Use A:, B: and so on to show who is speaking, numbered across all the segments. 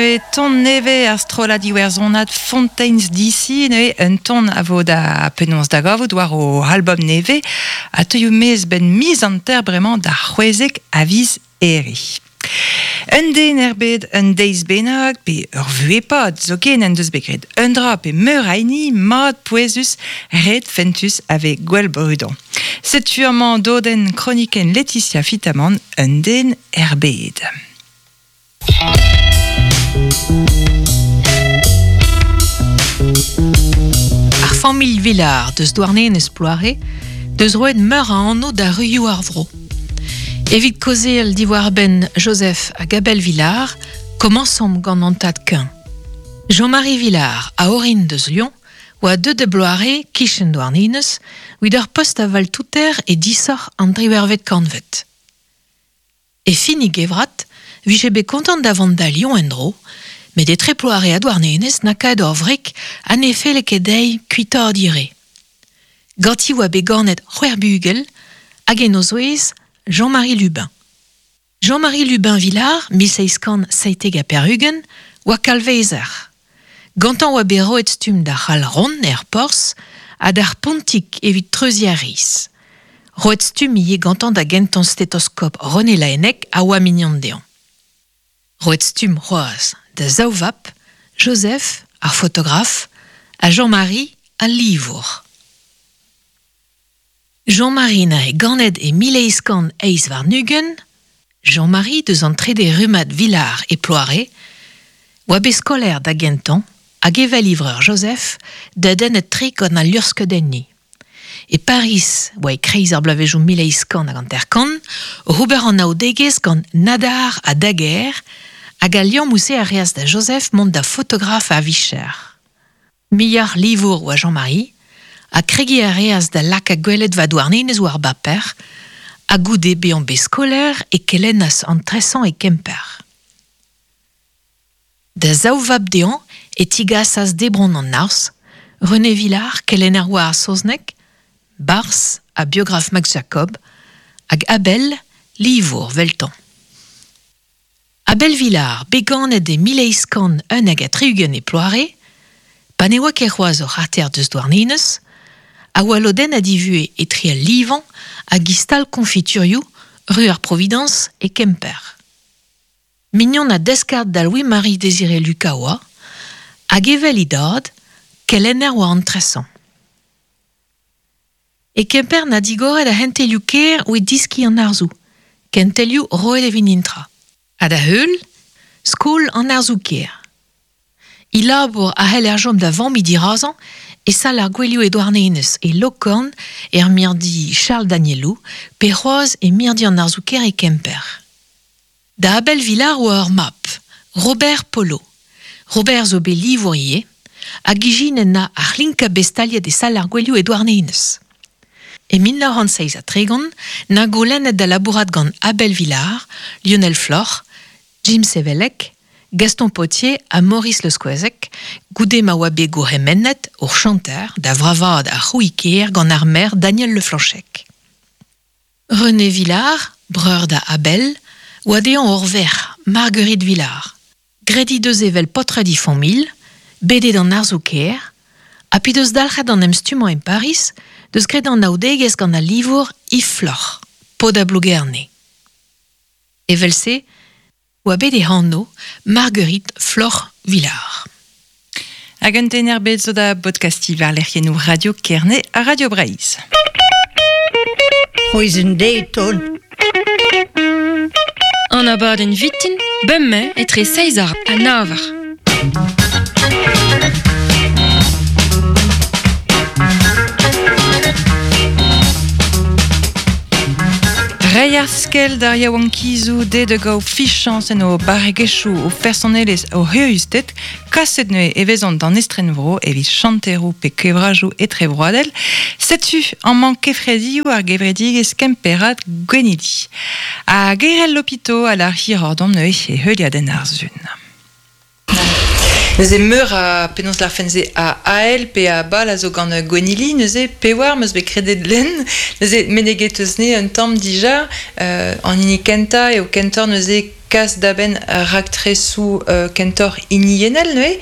A: neuze ton nevez ar strollad iwerzhonat Fontaines DC neuze un ton a vo da penaos da gavout war o album nevez a teuio maez 'benn miz hanter bremañ d'ar 16 a viz Here. Un den er bed un deiz bennak pe ur vuhez-pad zoken en deus bet graet un dra pe meur a hini mat pouezus ret fentus a vez gwell brudañ. Setu amañ dodenn kronikenn Laetitia Fitamant un den er bed.
B: Ar familh Villard deus Douarnenez Ploare deus roet meur a anv da ruioù ar vro. Evit kaozeal diwar-benn Joseph hag Abel Villard, komañsomp gant an tad-kuñv. Jean-Marie Villard, a orin deus Lyon, oa deuet da Bloare, kichen Douarnenez, evit ur post a valtouter e disoc'h an driwec'hvet kantved. E fin e gevrat 'vije bet kontant da vont da Lyon en-dro, met etre Ploare ha Douarnenez 'na kaet ur wreg ha ne felle ket dezhi kuitaat he re. Ganti 'oa bet ganet c'hwec'h bugel, hag en o zouez Jean-Marie Lubin. Jean-Marie Lubin Villard, 1797, 'oa kalvezer. Gantañ 'oa bet roet stumm d'ar c'hal ront er porzh ha d'ar pontig evit treuziñ ar riz. Roet stumm ivez gantañ da gentañ stetoskop René Laennec a oa mignon dezhañ. Roet stumm c'hoazh da zaou vab, Joseph, ar fotograf, ha Jean-Marie, al livour. Jean-Marie neuze ganet e 1828, Jean-Marie deus an trede rummad Villard e Ploare, oa bet skolaer da gentañ hag evel e vreur Joseph dedennet-tre gant al luc'hskeudenniñ. E Pariz oa e-kreiz ar bloavezhioù 1850 oc'h ober anaoudegezh gant Nadar ha Daguerre hag al liammoù-se a reas da Joseph mont da fotograf a-vicher. Muioc'h livour oa Jean-Marie ha kregiñ a reas da lakaat gweledva Douarnenez war baper ha goude bezañ bet skolaer e kelennas an tresañ e Kemper. Da zaou vab dezhañ e tigasas debron an arz, René Villard, kelenner war ar saozneg, barzh ha biograf Max Jacob, hag Abel, livour 'veltañ. Abel Villard, bet ganet e 1871 e Ploare, pa ne oa ket c'hoazh ur c'harter deus Douarnenez, a oa lodennet e vuhez etre al livañ hag e stal koñfiturioù ru ar Providañs e Kemper. Mignon ha deskard da Louis-Marie Désiré Lucas oa, hag evel e dad, kelenner war an tresañ. E Kemper 'na digoret ar c'hentelioù kêr evit diskiñ an arzoù, kentelioù roet evit nintra. Ha da heul, skol an arzoù-kêr. E labour a c'heller chom da vammiñ dirazañ e sal ar gouelioù e Douarnenez, e Lokorn, er mirdi Charles Danielou, pe c'hoazh e mirdi an arzoù-kêr e Kemper. Da Abel Villard oa ur mab, Robert Polo. Robert zo bet livour ivez, hag ijinet 'na ar c'hlinkañ bet staliet e sal ar gouelioù e Douarnenez. E 1937 'na goulennet da labourat gant Abel Villard, Lionel Floc'h, Jim Sevelec, Gaston Potier ha Maurice Le Squezec, goude ma oa bet gourc'hemennet ur chanter da vravaat ar c'hrouiñ-kêr gant ar maer Daniel Le Flanchec. René Villard, breur da Abel, oa dezhañ ur verc'h, Marguerite Villard. Graet he deus evel paotred he familh, bet eo d'an arzoù-kaer, ha p'he deus dalc'het d'an emstummañ e Pariz, deus graet anaoudegezh gant al livour Yves Floc'h, paotr a Blougerne. Evel-se oa bet e anv Marguerite Floc'h Villard.
A: Hag un tenner bet zo da bodkastiñ war lec'hiennoù Radio Kerne ha Radio Breizh.
C: C'hwezh un deiz ton.
D: An abadenn vitin, bemdez etre seizh eur ha nav eur.
A: Reiñ ar skell d'ar yaouankizoù dezhe da gaout fichañs en o barregezhioù, o fersonelezh, o c'huriusted, kaset neuze e vezont d'an estrenvro evit chanteroù pe kevrajoù etrevroadel. Setu amañ kefredioù ar gevredigezh kemperad Gwenili. Ha Gerel Lopito a lâr hiroc'h deomp neuze e heuliadenn ar Sun. Neuze meur a penaos larfen se a AL pe a bal a zo gant Gwennili, neuze pewar meus bet kredet lenn, neuze meneget eus ne un tamm dija, an hini kentañ eo kentoc'h neuze kas da benn raktresoù kentoc'h hiniennel neuze,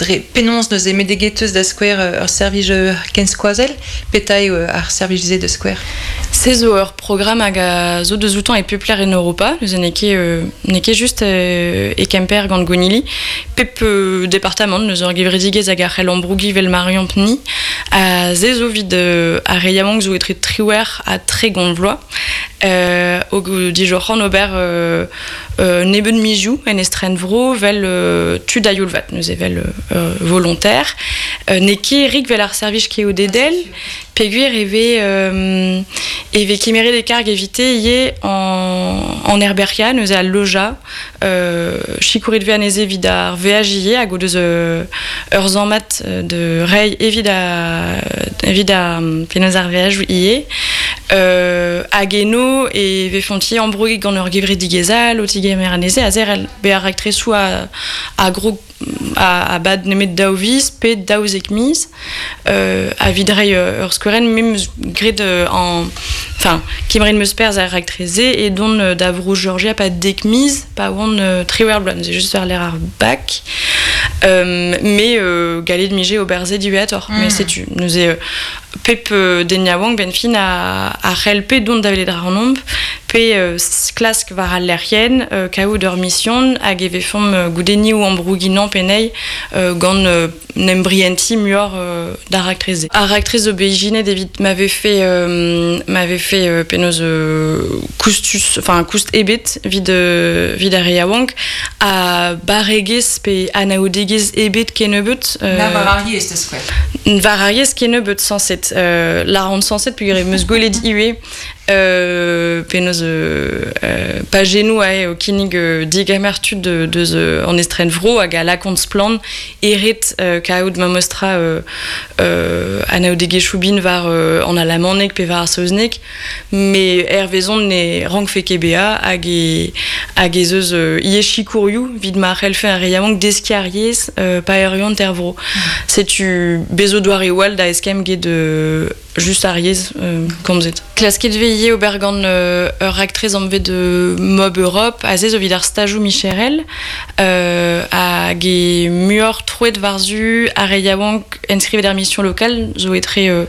A: dre penaos neuze meneget eus da skouer ur servij kenskoazell, petra eo ar servij-se da skouer?
D: Se zo ur programm hag a zo deus outañ e pep lec'h en Europa, neuze n'eo ket n'eo ket just e Kemper gant Gwennili. Pep departamant neuze ur gevredigezh hag a c'hell ambrougiñ 'vel Marion-Pni. Ha se zo evit ar re yaouank zo etre 18 ha 30 vloaz. O dijoc'han ober nebeut mizioù en estrenvro 'vel tud a-youl-vat, neuze 'vel volontaire. N'eo ket rik 'vel ar servij keodedel. Peogwir e vez e vez kemeret e karg evite ivez an herberc'hiañ, neuze al lojañ. Sikouret vez anezhe evit ar veaj ivez hag o deus ur sammad de reiñ evit ar evit ar penaos ar veajoù ivez. Hag eno e vefont-i ambrouget gant ur gevredigezh all o tigemer anezhe ha zerc'hel bezañ raktresoù a grog a-bad nemet daou viz pe 12 miz evit reiñ ur skouerenn me 'm eus graet an enfin kemeret 'm eus perzh er raktres-se e dont da Vro-Georgia pa dek miz pa oan 18 bloaz neuze just war-lerc'h ar bak me gallet 'mije ober se diwezhatoc'h met setu neuze pep den yaouank benn fin a c'hell pe dont da welet ac'hanomp pe klask war al lec'hienn kaout ur mision hag e vefomp goude ni o ambrougiñ pe anezhi gant n'em brientiñ muioc'h d'ar raktres-se. Ar raktres zo bet ijinet evit ma vefe ma vefe penaos koustus enfin koust ebet evit evit ar re yaouank ha barregezh pe anaoudegezh ebet kennebeut.
A: Na war ar yezh da skouer.
D: War ar yezh kennebeut sañset. Lâran sañset peogwir em eus gwelet ivez penaos pajennoù aze o kinnig digemer tud deus an estrenvro hag a lakaont splann e ret kaout memestra anaoudegezhioù bin war an alamaneg pe war ar saozneg met hervezon ne rankfe ket bezañ hag e hag ez eus ivez sikourioù evit ma c'hellfe ar re yaouank deskiñ ar yezh pa erruont er vro. Setu bez zo doareoù all da eskemm get just ar yezh komzet. Klasket vez ivez ober gant ur raktres anvet Mob Europe, aze zo evit ar stajoù micherel hag e muioc'h troet war-zu ar re yaouank enskrivet er mission locale zo etre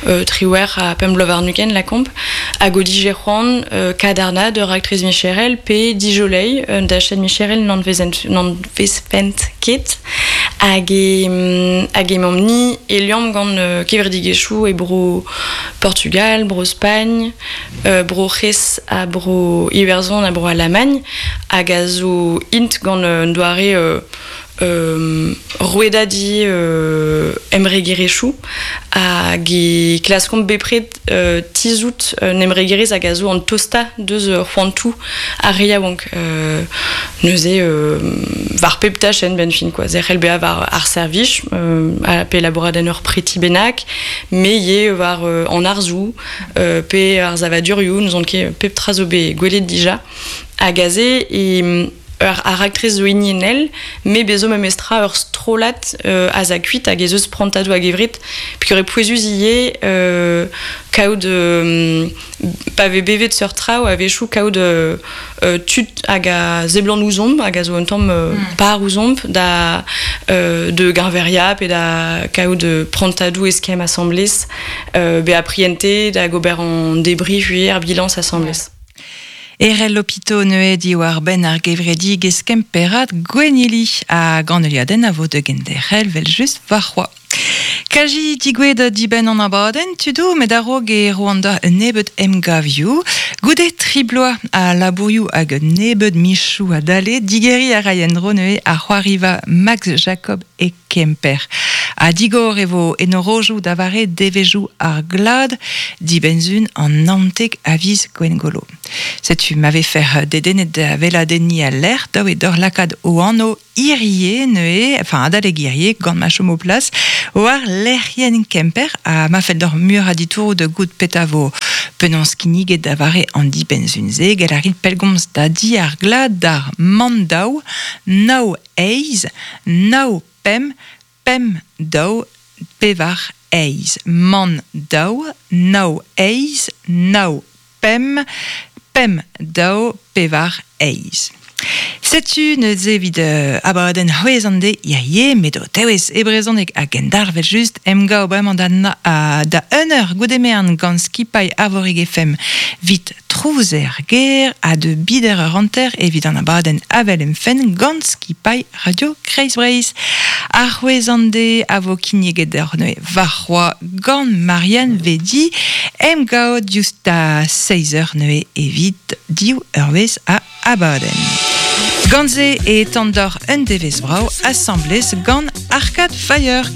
D: 18 ha pemp bloaz warn-ugent lakaomp hag o dije c'hoant kadarnaat ur raktres micherel pe dijoleiñ un dachenn micherel n'anvezfent ket hag e hag emaomp-ni e liamm gant kevredigezhioù e bro Portugal, bro Spagn, bro C'hres ha bro Iwerzhon ha bro Alamagn hag a zo int gant un doare rouedadiñ embregerezhioù hag e klaskomp bepred tizhout un embregerezh hag a zo an tostañ deus c'hoantoù ar re yaouank. Neuze war pep tachenn benn fin quoi. Zerc'hel bezañ war ar servij pe labourat en ur preti bennak, me ivez war an arzoù pe ar savadurioù, n'ouzon ket pep tra zo bet gwelet dija. Hag aze e ar raktres zo hiniennel, me bezo memestra ur strollad az a kuit hag ez eus prantadoù a-gevret, peogwir eo pouezus ivez kaout pa vez bevet seurt traoù a-wechoù kaout tud hag a seblant ouzhomp hag a zo un tamm par ouzhomp da de geñveriañ pe da kaout prantadoù eskemm asambles, bezañ prientet hag ober an debriñ ivez ar bilañs asambles.
A: Erell Lopito neuze diwar-benn ar gevredigezh Kemperad Gwennili hag an heuliadenn a vo da genderc'hel 'vel-just warc'hoazh. Kaji digouezhet dibenn an abadenn tudoù met a-raok e roan da un nebeud emgavioù. Goude tri bloaz a labourioù hag un nebeud michoù a dale, digeriñ a ray en-dro neuze ar c'hoariva Max Jacob e Kemper. A digor e vo enorojou da vare devezhioù ar glad dibenzun an naontek a viz Gwengolo. Setu ma vefer dedennet da veladenni al lec'h daou e d'ur lakaat o anv hirie neuze, enfin adalek hirie gant ma chomo plas, war lec'hienn Kemper ha ma fell d'ur mur a ditouroù da goût peta vo penaos kinniget da vare an dibenn-sun-se, gell a rit pellgomz da di ar glad d'ar man daou, nav eizh, nav pemp, pemp daou, pevar eizh. Man daou, nav eizh, nav pemp, pemp daou, pevar eizh. Setu neuze evit abadenn c'hwezh an deiz hirie, met o tewez e brezhoneg hag endarvet just emgav bremañ da, na, da un eur goude merenn gant skipailh Arvorig FM 'vit trouz er gêr ha de bider eur hanter evit an abadenn Avel em fenn gant skipailh Radio Kreiz Breizh. Ar c'hwezh an deiz a vo kinniget deoc'h neuze warc'hoazh gant Marianne Vedi emgav diouzh da seizh eur neuze evit div eurvezh a abadenn. Gant se e tan deoc'h un devezh brav asambles gant Arcade Fire.